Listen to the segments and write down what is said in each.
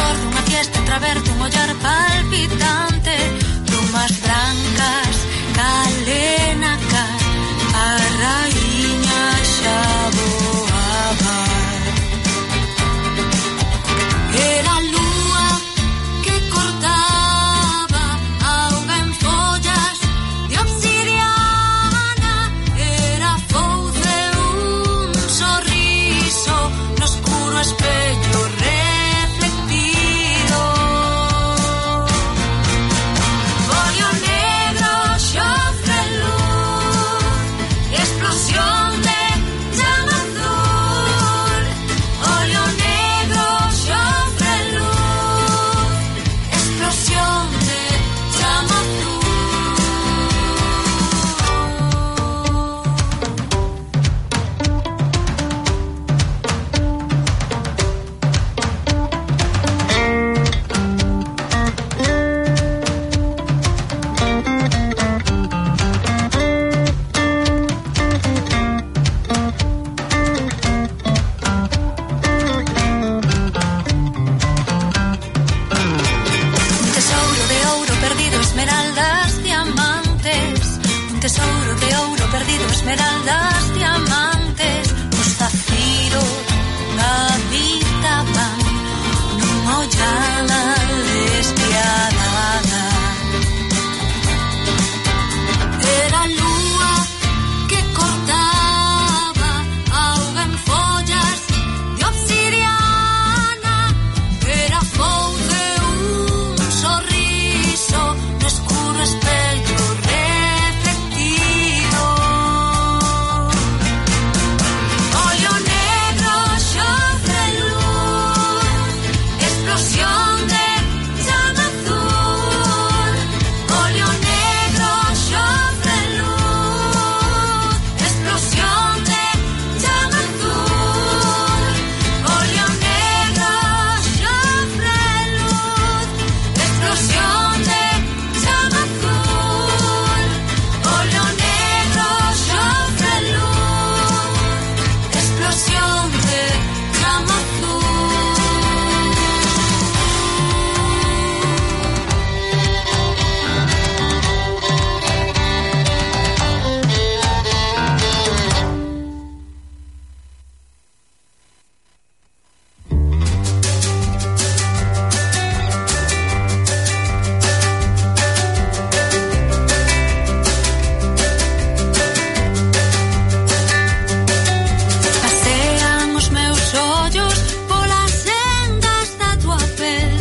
calor dunha fiesta entreaberto, un ollar palpitante, plumas blancas, calena car, a raíña xa voaba. Era a lúa que cortaba auga en follas de obsidiana, era fouce un sorriso no escuro espello reflectido. Folio negro, xofre luz, explosión de llama azul. Folio negro, xofre luz, explosión de llama azul. Un tesouro de ouro perdido, esmeraldas, diamantes. Un tesouro de ouro perdido, esmeraldas, diamantes. Os zafiros habitaban nunha ollada despiadada. Era a lúa que cortaba auga en follas de obsidiana, era fouce un sorriso no escuro espello reflectido. Folio negro, xofre luz, explosión de llama azul. Folio negro, xofre luz, explosión de llama azul. Folio negro, xofre luz, explosión de llama azul. Folio negro, xofre luz, explosión de llama azul. Pasean os meus ollos polas sendas da tua pel,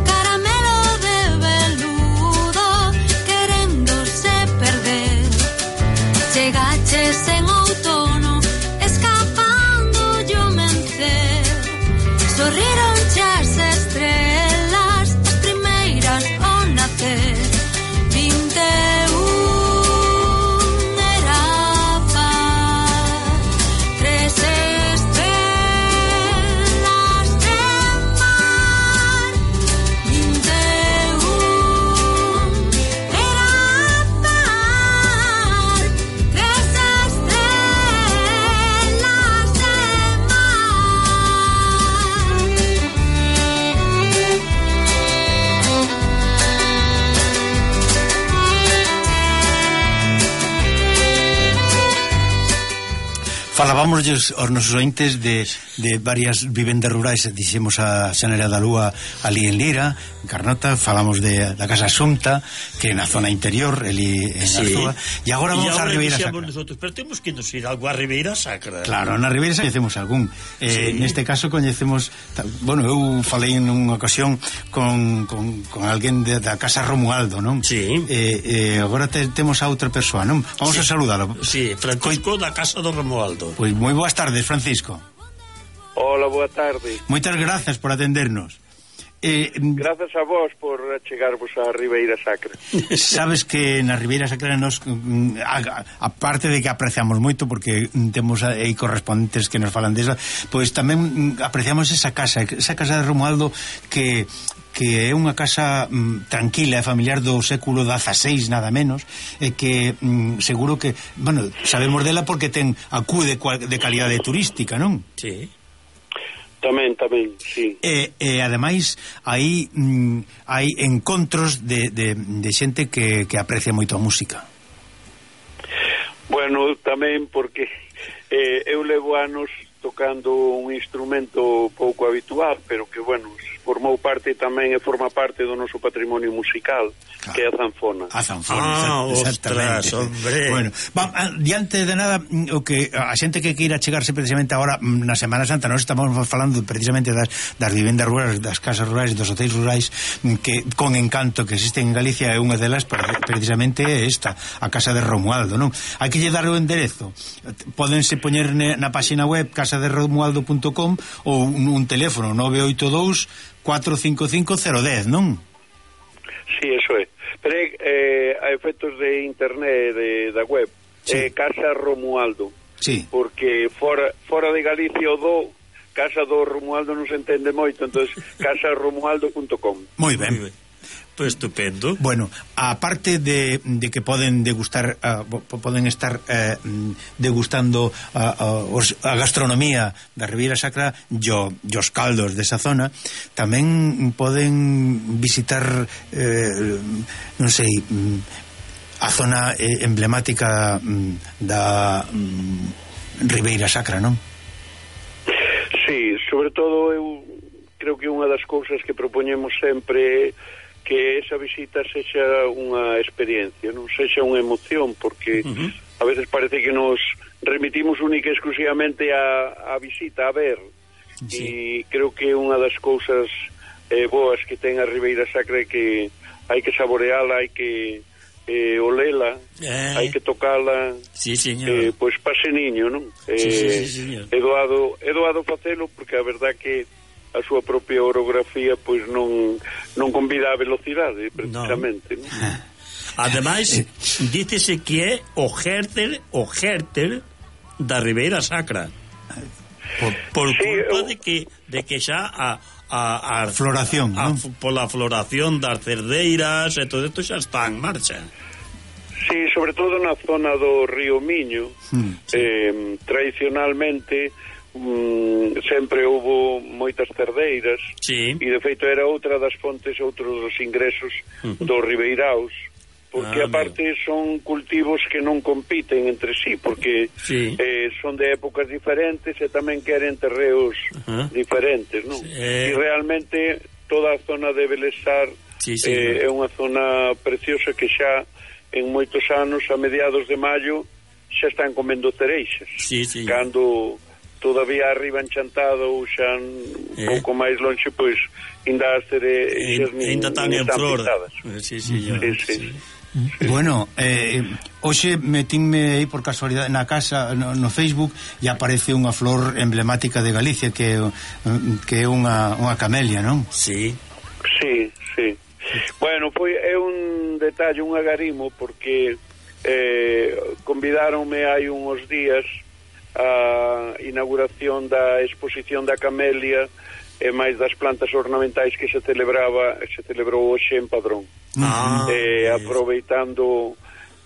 caramelo de veludo queréndose perder. Chegaches en outono escapando yo mencer, sorriron as estrelas as primeiras ao nacer. 21 era paz, 3 estrelas de mar. 21 era paz, 3 estrelas de Falábamosles aos nosos ointes de varias vivendas rurais, dixemos a Xanera da Lúa ali en Lira, en Carnota, falamos da Casa Xunta, que na zona interior, ali en Arzúa, e agora vamos a Ribeira Sacra. Nosotros, pero temos que nos ir algo a Ribeira Sacra. Claro, na Ribeira Sacra coñecemos algún. Neste caso coñecemos, bueno, eu falei en unha ocasión con alguén da Casa Romualdo, non? Sí. Agora temos a outra persoa, non? Vamos a saludalo. Sí, Francisco da Casa do Romualdo. Pois moi boas tardes, Francisco. Hola, boa tarde. Moitas grazas por atendernos. Grazas a vos por chegarvos a Ribeira Sacra. Sabes que na Ribeira Sacra nos, a parte de que apreciamos moito, porque temos aí correspondentes que nos falan desa, pois tamén apreciamos esa casa de Romualdo que é unha casa tranquila e familiar do século XVI, nada menos, e que seguro que, bueno, sabemos dela porque ten acude de calidade turística, non? Sí. Tamén, sí. E ademais hai encontros de xente que aprecia moito a música. Bueno, tamén porque eu levo anos tocando un instrumento pouco habitual, pero que, bueno, formou parte tamén e forma parte do noso patrimonio musical, que é a zanfona. A zanfona, ostras, hombre. Bueno, diante de nada, o que a xente que queira chegarse precisamente agora na Semana Santa, nós estamos falando precisamente das vivendas rurais, das casas rurais, dos hotéis rurais, que con encanto que existen en Galicia, é unha delas precisamente esta, a Casa de Romualdo, non? Hai que lle dar o enderezo. Pódense poñer na páxina web casaderomualdo.com ou un teléfono 982 455 010, non? Sí, eso é. Pero a efectos de internet da web, sí. Casa Romualdo. Sí. Porque fora de Galicia o do Casa do Romualdo non se entende moito, entonces casaromualdo.com. Moi ben. Pues estupendo. Bueno, aparte de que poden degustar, poden estar degustando a gastronomía da Ribeira Sacra e os caldos desa zona, tamén poden visitar, non sei, a zona emblemática da Ribeira Sacra, non? Sí, sobre todo eu creo que unha das cousas que propoñemos sempre que esa visita sexa unha experiencia, non sexa unha emoción, porque a veces parece que nos remitimos única e exclusivamente a visita, a ver, e creo que unha das cousas boas que ten a Ribeira Sacra é que hai que saboreala, hai que olela, hai que tocala, sí, señor. Pois pase niño, non? Sí, señor. É doado facelo, porque a verdad que a súa propia orografía pois non convida a velocidade precisamente, non? Ademais, dícese que é o Gérter da Ribeira Sacra. Por sí, culpa de que xa a floración, non? Pola floración das cerdeiras e todo isto xa está en marcha. Sí, sobre todo na zona do río Miño, tradicionalmente sempre houbo moitas cerdeiras, sí. E de feito era outra das fontes, outros dos ingresos dos ribeiraos, porque aparte son cultivos que non compiten entre sí, porque sí. Son de épocas diferentes e tamén queren terreos diferentes, non? Sí. E realmente toda a zona de Belesar é unha zona preciosa que xa en moitos anos, a mediados de maio, xa están comendo cereixas, cando todavía arriba enchantado ou xa un pouco máis lonxe, pois ainda as cereixas ainda están en flor. Sí. Bueno, hoxe metínme aí por casualidade na casa, no Facebook, e aparece unha flor emblemática de Galicia que é unha camelia, non? Sí. Bueno, é un detalle, un agarimo, porque convidáronme hai uns días a inauguración da exposición da camelia e máis das plantas ornamentais que se celebrou hoxe en Padrón. Aproveitando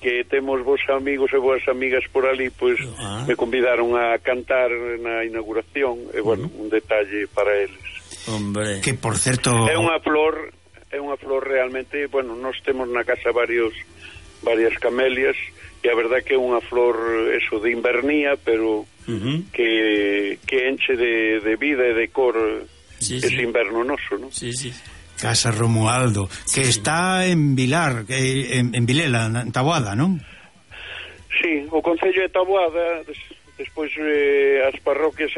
que temos vos amigos e boas amigas por ali, pois me convidaron a cantar na inauguración, e bueno, un detalle para eles. Hombre, que por certo é unha flor realmente, bueno, nós temos na casa varias camelias, e a verdad que é unha flor eso de invernía, pero que enche de vida e de cor ese inverno noso, non? Sí. Casa Romualdo, que está en Vilar, en Vilela, en Taboada, non? Sí, o concello de Taboada, despois as parroquias,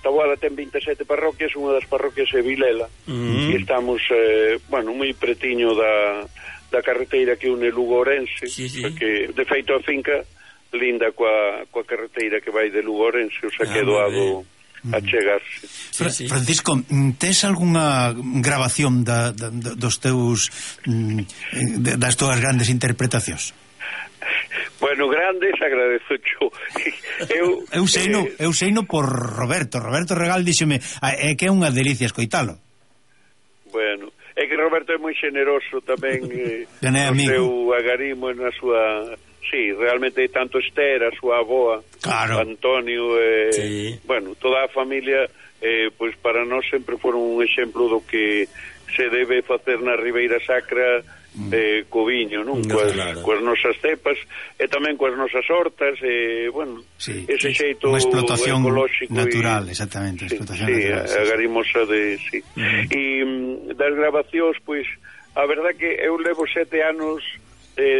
Taboada ten 27 parroquias, unha das parroquias é Vilela, e estamos, bueno, moi pretiño da carreteira que une Lugo Ourense, porque de feito a finca linda coa carreteira que vai de Lugo Ourense, o sea que é doado a chegarse. Francisco, tes algunha grabación dos teus das túas grandes interpretacións? Bueno, grandes, agradezo yo. Eu seino por Roberto Regal díxome que é unha delicia escoitalo. Bueno, é que Roberto é moi xeneroso tamén no seu agarimo na súa... Sí, realmente tanto Esther, a súa avoa, claro. Antonio, bueno, toda a familia pois para nós sempre foron un exemplo do que se debe facer na Ribeira Sacra co viño, non? Coas nosas cepas e tamén coas nosas hortas bueno, sí, ese xeito unha explotación ecolóxico natural, exactamente, explotación natural, a garimosa de, e das grabacións, pois a verdad que eu levo 7 anos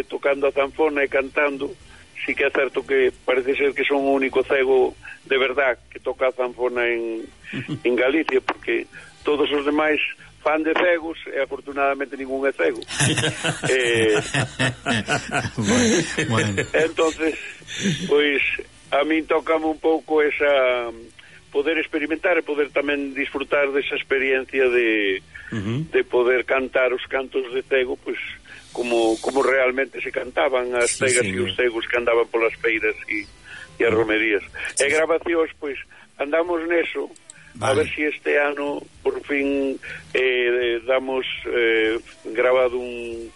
tocando a zanfona e cantando. Sí que é certo que parece ser que son o único cego de verdad que toca a zanfona en Galicia, porque todos os demais fan de cegos e afortunadamente ningún é cego. bueno. Entonces, pois a min tócame un pouco esa poder experimentar e poder tamén disfrutar desa experiencia de poder cantar os cantos de cego, pois como realmente se cantaban as cegas e os cegos que andaban polas feiras e as romerías. E grabacións, pois andamos neso. Vale. A ver si este ano por fin damos grabado un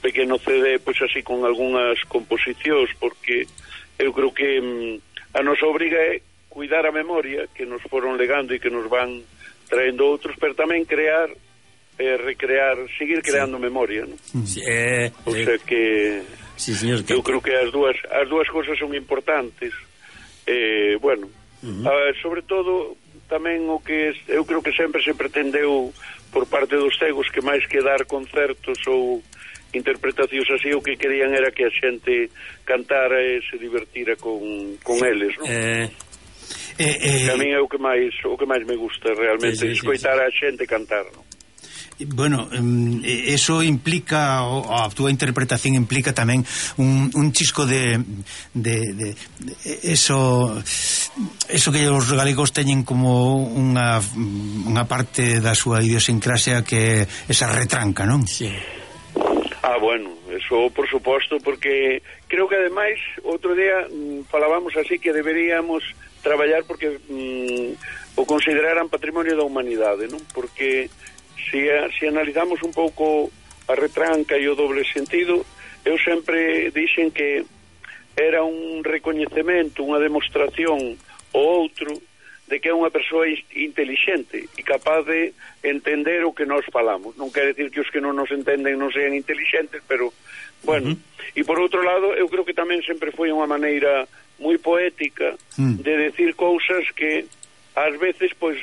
pequeno CD, pois así con algunhas composicións, porque eu creo que a nosa obriga é cuidar a memoria que nos foron legando e que nos van traendo outros, pero tamén crear recrear, seguir creando memoria, ¿no? Sí, o sea que sí, señor, eu creo que as dúas cousas son importantes. Bueno, sobre todo tamén o que eu creo que sempre se pretendeu por parte dos cegos que máis que dar concertos ou interpretacións así, o que querían era que a xente cantara e se divertira con eles, non? Que a min é o que máis me gusta realmente, escoitar a xente cantar, non? Bueno, eso implica, a túa interpretación implica tamén un chisco de eso que os galegos teñen como unha parte da súa idiosincrasia, que esa retranca, non? Sí. Bueno, eso por suposto, porque creo que ademais outro día falábamos así que deberíamos traballar porque o consideraran patrimonio da humanidade, non? Porque se analizamos un pouco a retranca e o doble sentido, eu sempre dixen que era un recoñecemento, unha demostración ao outro de que é unha persoa intelixente e capaz de entender o que nós falamos. Non quer decir que os que non nos entenden non sean intelixentes, pero, bueno, e por outro lado, eu creo que tamén sempre foi unha maneira moi poética de decir cousas que ás veces, pois,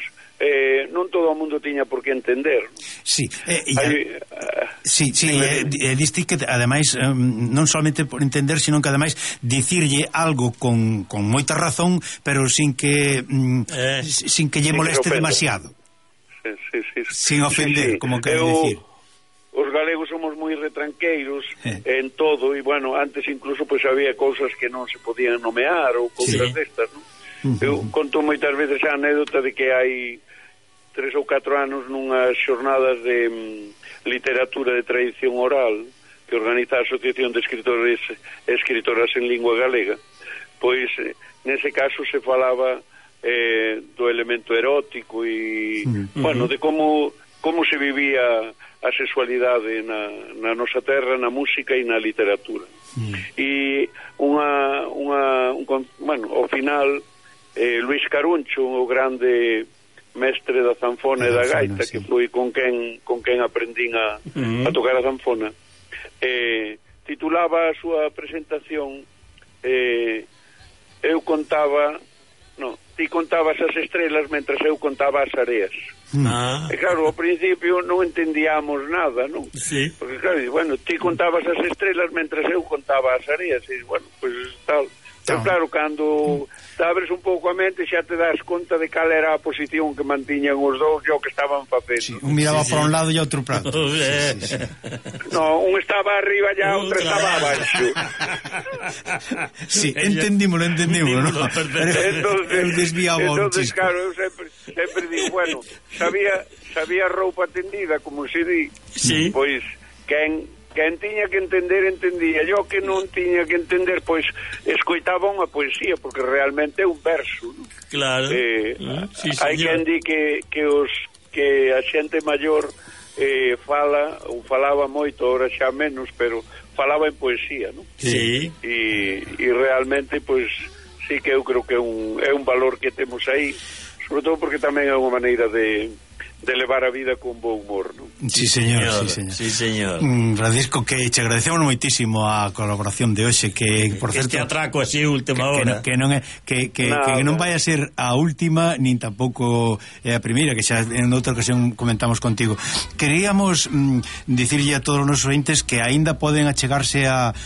non todo o mundo tiña por que entender. Sí, diste que ademais non solamente por entender, sino que ademais dicirlle algo con moita razón, pero sin que lle moleste demasiado. Sin ofender, como quero dicir. Os galegos somos moi retranqueiros en todo, e bueno, antes incluso pois había cousas que non se podían nomear ou cousas destas, non? Eu conto moitas veces a anécdota de que hai 3 ou 4 anos nunhas xornadas de literatura de tradición oral que organiza a Asociación de Escritores e Escritoras en Lingua Galega, pois nese caso se falaba do elemento erótico e, bueno, de como se vivía a sexualidade na nosa terra, na música e na literatura. E bueno, ao final Luis Caruncho, o grande mestre da zanfona e da gaita, que foi con quen aprendín a tocar a zanfona, titulaba a súa presentación eu contaba ti contabas as estrelas mentras eu contaba as areas. E claro, ao principio non entendíamos nada, non? Sí. Porque claro, bueno, ti contabas as estrelas mentras eu contaba as areas, e bueno, pois tal. Pero claro, cando te abres un pouco a mente xa te das conta de cal era a posición que mantiñan os dous e o que estaban facendo. Sí, un miraba para un lado e outro para outro. No, un estaba arriba e a outro estaba abaixo. Sí, entendímolo, ¿no? Entonces, claro, eu sempre digo, bueno, sabía roupa tendida, como se di, pois, quen tiña que entender, entendía. Yo que non tiña que entender, pois escoitaba unha poesía, porque realmente é un verso, ¿no? Claro. Hai quen di que a xente maior falaba moito, ahora xa menos, pero falaba en poesía, ¿no? Sí. E realmente, pois, sí que eu creo que é un valor que temos aí, sobre todo porque tamén é unha maneira de levar a vida con bo humor, non? Sí, señor, sí, señor. Sí, señor. Francisco, que che agradecemos moitísimo a colaboración de hoxe, que, por certo... Este atraco así, última hora. Que non é... Que non vai a ser a última, nin tampouco é a primeira, que xa en outra ocasión comentamos contigo. Queríamos dicirlle a todos os nosos ointes que aínda poden achegarse a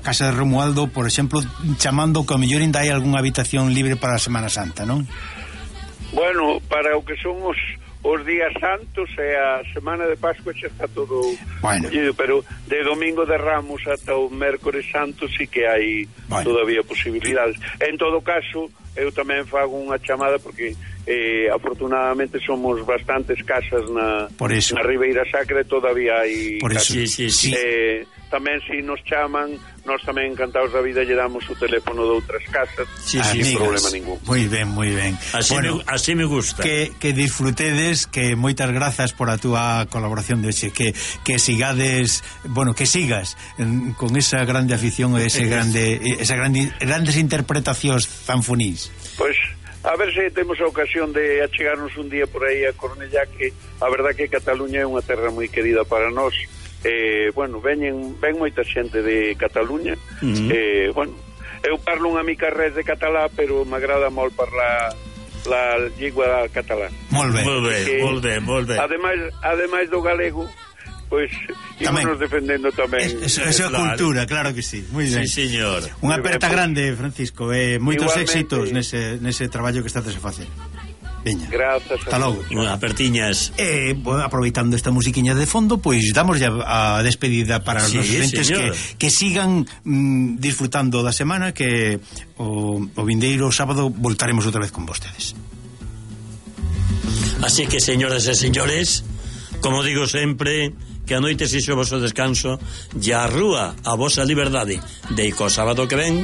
Casa de Romualdo, por exemplo, chamando que ao mellor ainda hai algunha habitación libre para a Semana Santa, non? Bueno, para o que son os días santos e a semana de Pascua xa está todo collido, pero de Domingo de Ramos ata o Mércores Santo sí que hai todavía posibilidades. En todo caso, eu tamén fago unha chamada porque afortunadamente somos bastantes casas na Ribeira Sacra e todavía hai casas. Sí. Tamén se nos chaman, nós tamén encantados da vida lle damos o teléfono de outras casas sin problema ningún. Moi ben. Así me gusta. Que disfrutedes, que moitas grazas por a túa colaboración de hoxe, que sigades, que sigas con esa grande afición e grandes interpretacións zanfonís. Pois a ver se temos a ocasión de achegarnos un día por aí a Cornellá, que a verdad que Cataluña é unha terra moi querida para nós. Ven moita xente de Cataluña. Eu parlo unha mica res de catalá, pero m'agrada molt parlar la lingua catalá. Molt bé. Ademais do galego, pois ímonos defendendo tamén esa cultura, claro que sí. Moi ben. Sí, señor. Unha aperta grande, Francisco, moitos éxitos nese traballo que estás a facer. Veña. Grazas. Hasta logo. Apertiñas. Aproveitando esta musiquiña de fondo, pois damos ya a despedida para os nosos entes que sigan disfrutando da semana, que o vindeiro sábado voltaremos outra vez con vostedes. Así que, señoras e señores, como digo sempre, que a noite sexo o vosso descanso e a rúa a vosa liberdade. De co sábado que ven